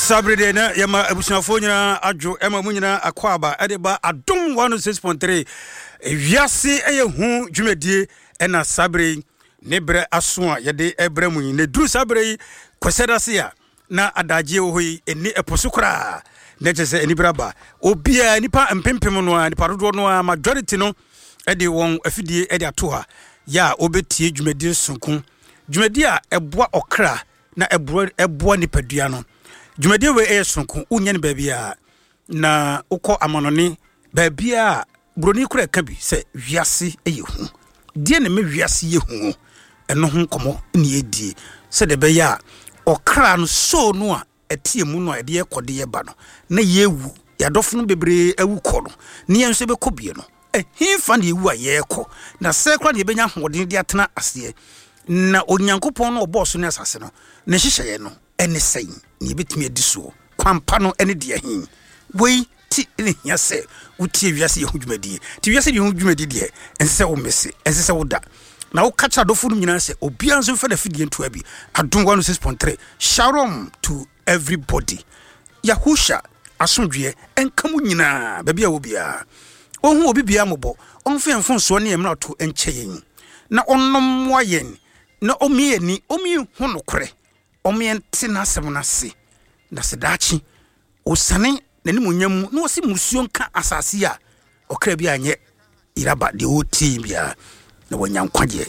Saa bere deɛ na yɛma abusuafoɔ nyinaa adwo ɛma mu nyinaa akɔ aba ɛde ba Adom 106.3 wiase ɛyɛ hu dwumadie ɛna saa bere yi ne berɛ aso a yɛde ɛbrɛ mu yi na ɛduru saa bere yi kwasɛda se a na adagyeɛ wɔ hɔ yi ɛni ɛpo so koraa na kyerɛ sɛ anibere aba obiara nipa mpempem no a nipa dodoɔ no a majority no ɛde wɔn afidie ɛde ato ha yɛ a wɔbɛtie dwumadie sonko dwumadie a ɛboa ɔkra na ɛboa ɛboa nipadua no. Dwumadie wei ɛyɛ sononko, wonnya no baabiara. Na wokɔ amanɔne baabiara a, buroni koraa ɛka bi sɛ wiase yɛ hu. Deɛ na ɛma wiase yɛ hu ɛno ho nkɔmmɔ na yɛdie sɛdeɛ ɛbɛyɛ a ɔkra no soul no a ɛte emu no a ɛde yɛkɔ de yɛba no na yɛwu yɛadɔfo no bebree awu kɔ no ne yɛn nso yɛbɛkɔ bie no Ɛhefa na yɛwu a yɛrekɔ? Na sɛɛ koraa na yɛbɛnya ahoɔden de atena aseɛ. Na Onyankopɔn no a ɔbɔɔ soro ne asase no, ne nhyehyɛeɛ no ne sɛn? Na yɛbɛtumi adi soɔ? Kwan pa no ne deɛ he? Wei nti na ɛhia sɛ wotie wiase yɛ ho dwumadie. Nti wiase yɛ ho dwumadie deɛ, ɛnsɛ sɛ womese, ɛnsɛ sɛ woda. Na woka kyerɛ adɔfoɔ no nyinaa sɛ obiara nso mfa n'afidie ntoa bi. Adom 106.3, Shalom to everybody. Yahusha asomdwoeɛ nka mo nyinaa baabi a wɔ biara. Ɔnhu obi biara mmɔbɔ, ɔmfa yɛn mfomsoɔ ne yɛn mmarato nkyɛ yɛn, na ɔnnɔ mmoa yɛn, na ɔmmue yɛn ani, ɔmma yɛnhu nokorɛ, ɔmma yɛnte n'asɛm no ase, na sɛ daakye ɔsiane n'animuonyam mu na ɔse mmusuo nka asase yi a, ɔkra bi anyɛ yeraba deɛ ɔretie biara, na wanya nkwagyeɛ.